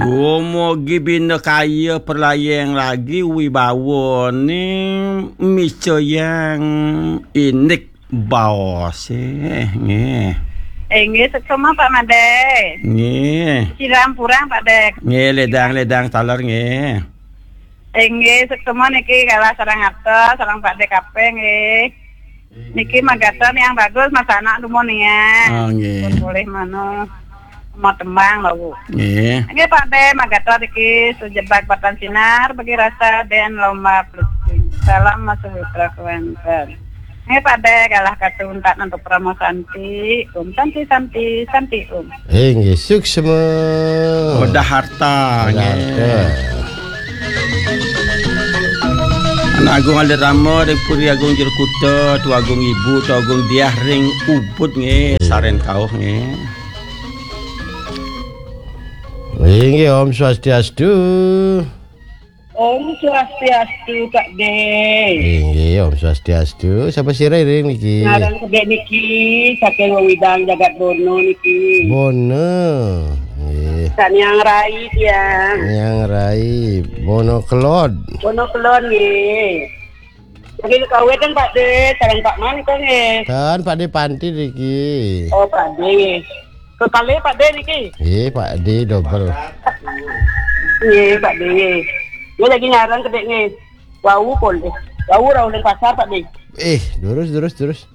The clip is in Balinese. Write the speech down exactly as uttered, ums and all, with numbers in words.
Dumugi bina kaya perlayang lagi wibawane micayang indik baose, nggih. Inggih, suksma, Pak Made. Nggih. Siram purang, Pak De. Nggih, ledang-ledang taler, nggih. Inggih, suksma niki galah sareng atos, sareng Pak De kabeh, nggih. Niki magatra yang bagus, Mas anak dumun ya. Oh, nggih. Pun boleh manu mau tembang lho. Nggih. Nggih, Pak De, magatra niki sujebak batan sinar bagi rasa den lomba pelucing. Salam Mas Putra Kewanten. Nggih, Pak De, galah katun tak nentu Parama Santi. Om Santi, Santi, Santi, Om. Inggih, suksma. Udah harta, Udah nggih. Harta. Anak Agung Alit Rama ring Puri Agung Jero Kuta, Tu Agung Ibu, Tu Agung Diah ring Ubud, nggih. Nggih. Saren kauh, nggih. Inggih, Om Swastiastu. Om Swastiastu, Pak De. Inggih, Om Swastiastu. Sapa sira ring niki? Ngaran kedek niki saking Wewidang Jagat Bono niki. Bono. Nggih. Sak Niang Rai, tiang. Niang Rai, Bono Kelod. Bono Kelod, nggih. Nggih, kawetan, Pak De, sareng Pak Mangkong, nggih. Kan Pak De Panti niki. Oh, Pak De. Kekali, Pak De, niki. Nggih, Pak De double. Nggih, Pak De, nggih. Nggih, lagi ngaran kedek, nggih. Wau pun, De. Wau rauh ning pasar, Pak De. Eh, durus, durus, durus.